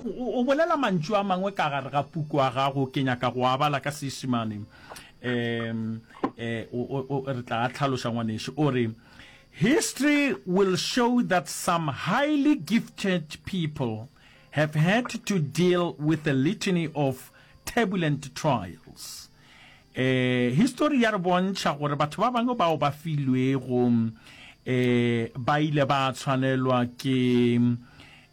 O bolela mantšu a mangwe ka gare ga puku ya gago, ke nyaka go a bala ka Seisemane. Um, eh, re tla a hlaloša ngwanešu. O re, History will show that some highly gifted people have had to deal with a litany of turbulent trials. Eh, histori ya re bontšha gore batho ba bangwe bao ba filwego eh, ba ile ba tshwanelwa ke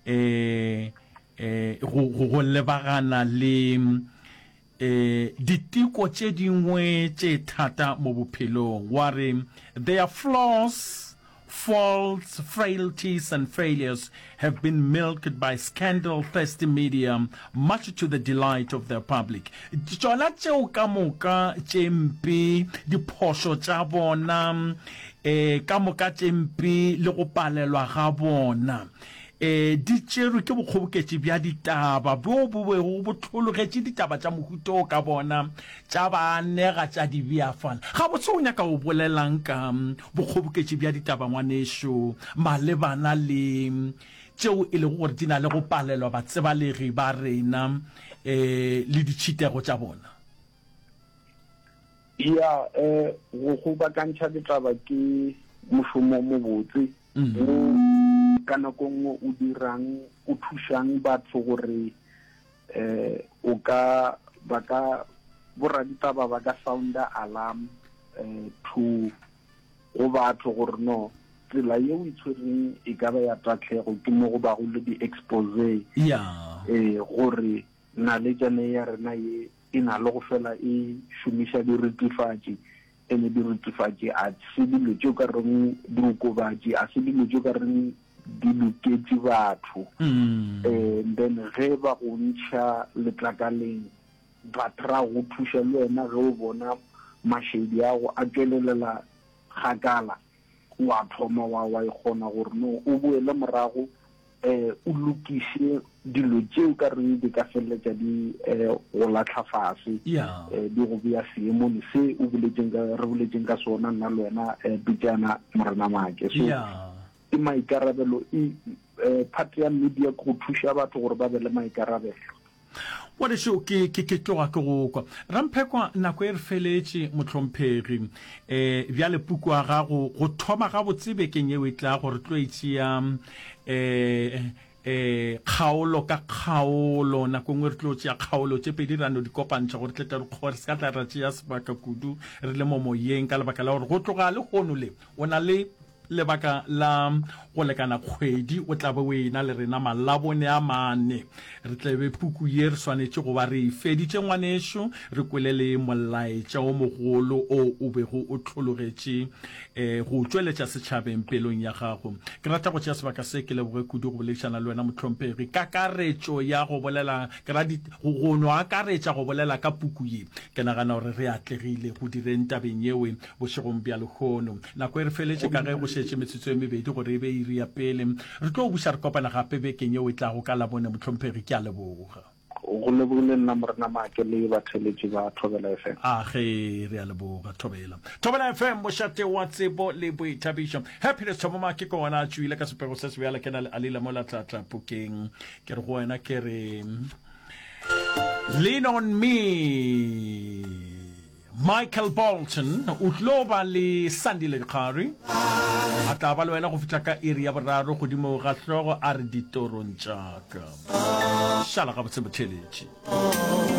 eh, eh, go, go, go lebagana le eh, diteko tše dingwe tše thata mo bophelong. Wa re, Their flaws Faults, frailties and failures have been milked by scandal-thirsty media much to the delight of their public. Tšona tšeo ka moka tše mpe, diphošo tša bona, eh, ka moka tše mpe le go palelwa ga bona, eh, di tšerwe ke bokgoboketši bja ditaba bjo bo bego bo hlologetše ditaba tša mohuta wo ka bona tša baanega tša di bea fale. Gabotse o nyaka go bolelang ka bokgoboketši bja ditaba ngwanešu malebana le tšeo e lego gore di na le go palelwa batsebalegi ba rena um le ditšhitego tša bona? Ya, um go kgobakantšha ditaba ke mošomo o mobotse wo ka nako nngwe o dirang, o thušang batho gore eh o ka ba ka boraditaba ba ka sounda alarm eh to go batho gore no tsela ye o itshwereng e ka ba ya tatlhego ke mo go bago le di-expose ya eh gore naletšane ya rena ye e na le go fela e šomiša diritifatši Ene dirutifatši a se dilo tše o ka reng diokobatši, a se dilo tše o ka reng di loketše batho. And then ge ba go ntšha letlakaleng, ba try go thuša le wena ge o bona mašedi ago a tšwelelela kgakala, wa thoma wa wa ikgona gore no o boele morago um o lokiše dilo tše o ka reng di ka feleletša di um go latlha fase um di go bea seemong se o boletšeng ka re boletšeng ka sona nna le wena um pejana morena Maake so ke maikarabelo e um part ya media ke go thuša batho gore ba be le maikarabelo. Ngwanešu, ke, ke, ke tloga ke go kwa. Ramphekwa, nako e re feletše, mohlomphegi. E, bjale puku ya gago, go thoma gabotse bekeng yeo e tlago, re tlo e tšea, e, e, kgaolo ka kgaolo. Nako e nngwe re tlo tšea kgaolo tše pedi ra no di kopantšha gore tle tle re kgo, re se ka tla ra tšea sebaka kudu re le mo moyeng, ka lebaka la gore go tloga lehono le, o na le Lebaka la go lekana kgwedi o tla be o ena le rena Malabone a mane. Re tle be puku ye re swanetše go ba re e feditše ngwanešu, re kwele le molaetša o mogolo o o bego o hlologetše go o tšweletša setšhabeng pelong ya gago. Ke rata go tšea sebaka se ke leboge kudu go boledišana le wena mohlomphegi. Kakaretšo ya go bolela, ke ra di, go, go no akaretša go bolela ka puku ye. Ke nagana gore re atlegile go direng tabeng yeo bošegong bja lehono. Nako e re feletše ka ge go šetše metsotso e mebedi gore e be iri ya pele. Re tlo buša re kopana gape bekeng yeo e tlago ka Labone, Mohlomphegi. Ke a leboga. Go lebogile nna Morena Maake le batheeletši ba Thobela FM. A ge, re a leboga. Thobela. Thobela FM, mošate wa tsebo le boithabišo. Happiness Thomo Maake ke gona a tšwile ka sepego se sebjale ke na le Alila mola Tlatla Pukeng. Ke re go wena ke re Lean on me. Michael Bolton o tlo ba le Sandile Dikgari a tla ba le wena go fihla ka iri ya boraro godimo ga hlogo a re ditorong tša ka. Šala gabotse motheeletši.